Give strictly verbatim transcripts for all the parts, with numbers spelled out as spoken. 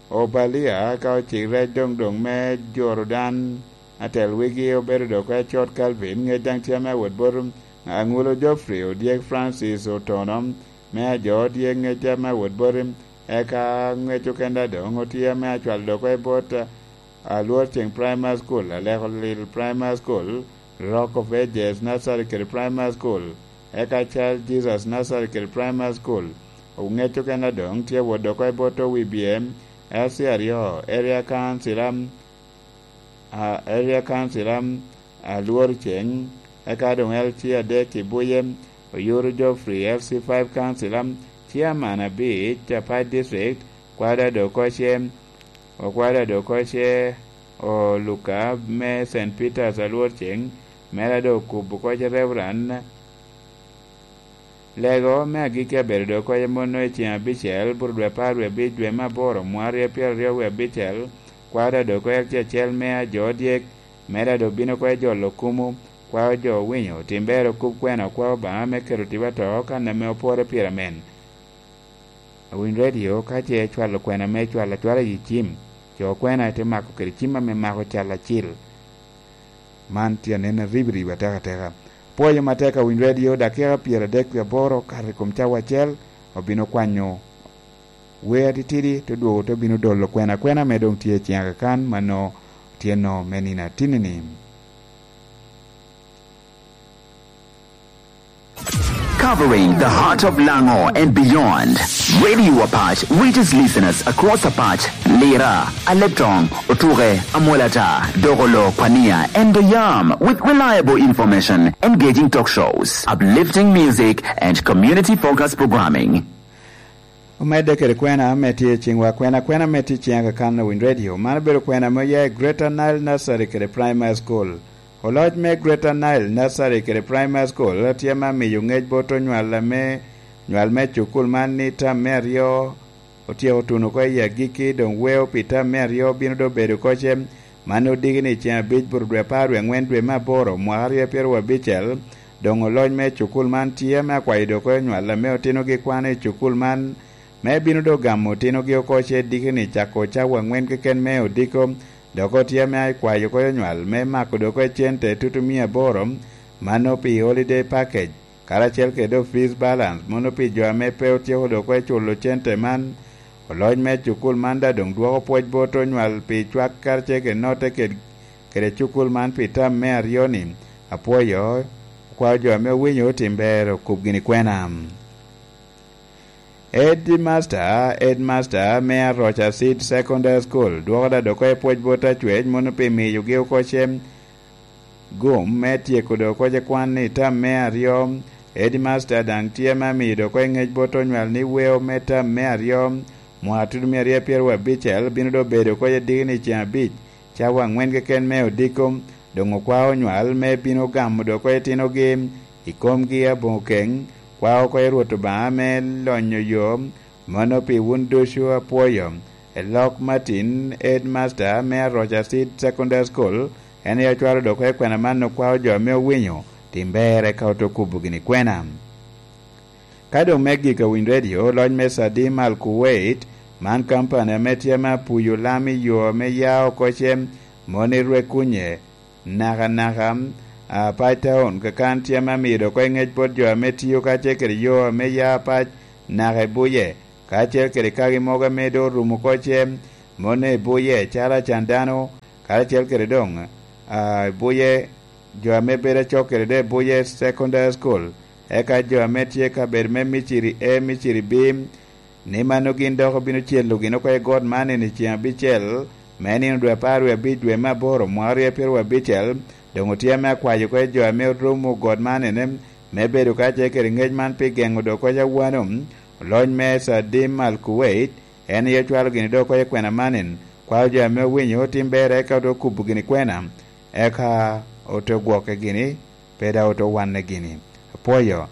Obalia ka ocik rec doŋ doŋ me Jordan, atel wigi obedo dok acot Calvin, ŋec daŋ tye ame awot bot Aŋulo Geoffrey, odyek Francis Otono, me ajo odyek ŋec ame awot bot, eka ŋec okenda doŋ otye ame acwalo dok i bot Alwor Ceng Primary School, Aleko Lil Primary School, Rock of Ages Nursery kede Primary School, eka Child Jesus Nursery kede Primary School. Ŋec okena doŋ tye wot dok i bot Owibye L C aryo, Area Council, am, a, Area Council, am, Alwor Ceng, eka doŋ L C adek i Buye, Oyuru Geoffrey, L C five Council, am, Chairman abic, Apac District, Kwada Dokoce, Okwada Dokoce, Oluka me Saint Peter's Alwor Ceng, mere doŋ okubo koc Reverend. Lego me agikki abedo doŋ koc amono i ceng abicel, bur dwe apar wie abic dwe me aboro, mwaka aryo pyeraryo wie abicel, kwaro doŋ koc acel me ajo dyek, mere doŋ bino koc jolo kumu, kwao jo owinyo, tim ber okub kwena, kwao Obaŋa me keto tipo ato kan ame opore pire amen. Awiny redio ka ce ecwalo kwena me cwalo acwala i cim, co kwena te mako kede cim ame mako cal acil. Man tye anen aribiribi atekateka. Pwoyo matek awiny redio, dakika pyeradek wie aboro okato i kom cawa acel, obino kwanyo wer atitidi, te dwogo te bino dolo kwena kwena ame doŋ tye i ciŋa kakan, mano tye no me nino atinni-ni. Covering the heart of Lango and beyond, Radio Apac reaches listeners across Apac, Lira, Aleptong, Otuke, Amolata, Dogolo, Kwania, and Doyam with reliable information, engaging talk shows, uplifting music, and community-focused programming. Omedde kede kwena ame tye i ciŋwa, kwena kwena ame tye i ciŋa kakan owiny redio. Man obedo kwena ame oya i Greater Nile Nursery kede Primary School. Oloc me Greater Nile Nursery kede Primary School tye ame amiyo ŋec bot onywal ame, nywal me cukul man ni tam me aryo otyeko tuno oko i agikki, doŋ weo pi tam me aryo bino doŋ bedo koce. Man odiki ni ceŋ abic bur dwe apar wie aŋwen dwe me aboro mwaka aryo pyeraryo abicel, doŋ oloc me cukul man tye ame akwayo doŋ oko nywal ame otinogi kwano i cukul man, me bino doŋ gamo otinogi oko ce diki ni cako cawa aŋwen keken me odiko, dok otye ame akwayo oko nywal me mako doŋ oko cente tutu mia aboro, mano pi holiday package, karacel kede doŋ fees balance, mono pi jo ame pe otyeko doŋ oko culo cente man. Oloc me cukul man daŋ doŋ dwoko pwoc bot onywal pi cwak karacel kede notte ked-, kede cukul man pi tam me aryo-ni. Apwoyo, okwao jo ame owinyo otim ber okub gini kwena. Headmaster, headmaster me Aroca Seed Secondary School dwoko daŋ doŋ oko pwoc bot acwec mono pi miyogi oko cem gum me tyeko doŋ oko kwan i tam me aryo. Headmaster daŋ tye ame amiyo doŋ oko ŋec bot onywal ni weo me tam me aryo, mwaka tutu mia aryo pyeraryo abicel bino doŋ bedo oko diki ni ceŋ abic, cawa aŋwen keken me odiko. Doŋ okwao onywal me bino gamo doŋ oko itinogi i komgi aboŋo keŋ, kwao oko i Rwot Obaŋa me lonyo yo, mano pi wun ducu apwoyo. Elok Martin, headmaster me Aroca Seed Secondary School, en aye ocwalo doŋ oko kwena man okwao jo ame owinyo, tim ber eka ote kubo gini kwena. Ka doŋ me gik awiny redio, loc me Sadim Al Kuwait, man kampani ame tye ame apuyo lam i yo ame ya oko cem, mono i Rwekunye, nakanaka, a, Apac Town, kakan tye ame amido oko i ŋec bot jo ame tio kacel kede yo ame ya Apac naka i Buye, kacel kede kagi mogo ame doŋ orumo oko cem, mono i Buye, calo Acandano, karacel kede doŋ, a, i Buye, jo ame bedo acok kede doŋ i Buye Secondary School, eka jo ame tye i kabedo me Miciri A, Miciri B, ni mano gin dok obino celo gin oko i got man i ceŋ abicel, me nino dwe apar wie abic dwe me aboro, mwaka aryo pyeraryo abicel, doŋ otye ame akwayo oko jo ame orumo got man ene, me bedo kacel kede ŋec man pi geŋo doŋ oko awano, oloc me Sadim Al Kuwait, en aye ocwalo gini doŋ oko i kwena man en, kwao jo ame owinyo otim ber eka ote kubo gini kwena, eka ote gwokke gini, pe daŋ ote wanne gini. Apwoyo.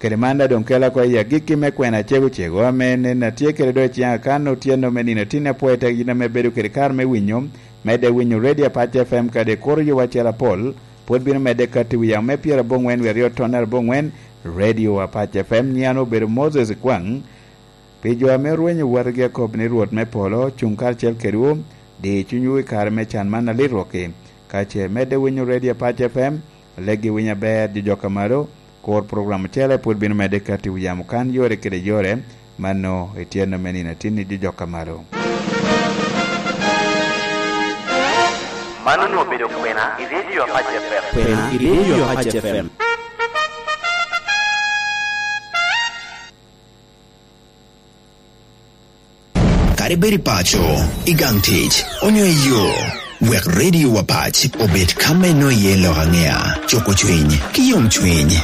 Kede man daŋ doŋ kela oko i agikki me kwena acego cego, ame nen atye kede doŋ i ciŋa kan otyeno me nino tin apwoyo tek yin ame bedo kede kare me winyo, medde winyo Radio Apac F M kadi ikuro yowa acel apol, pwod bino medde kati wi yamo me pyerabongwen wie aryo tonne arabongwen, Radio Apac F M, nyian obedo Moses Kwang, Pi jo ame orwenyo wotgi, akobo ni Rwot me polo cuŋ karacel kedwu, di cunywu i kare me can man alit rwokki. Ka ce imedde winyo Radio Apac F M, leggi winyo aber, jo jok a malo, kur program ocele pwod bino medde kati wi yamo kan yore kede yore, mano ityen ame nino atin i jo jok a malo. Man onwoŋo obedo kwena i Radio Apac F M. Kwena i Radio Apac F M. Kadi bed i paco, i gang tic, onyo i yo, wek Radio Apac obed ka me nwoŋo iye lok aŋea, cuko cwiny, ki yomcwiny.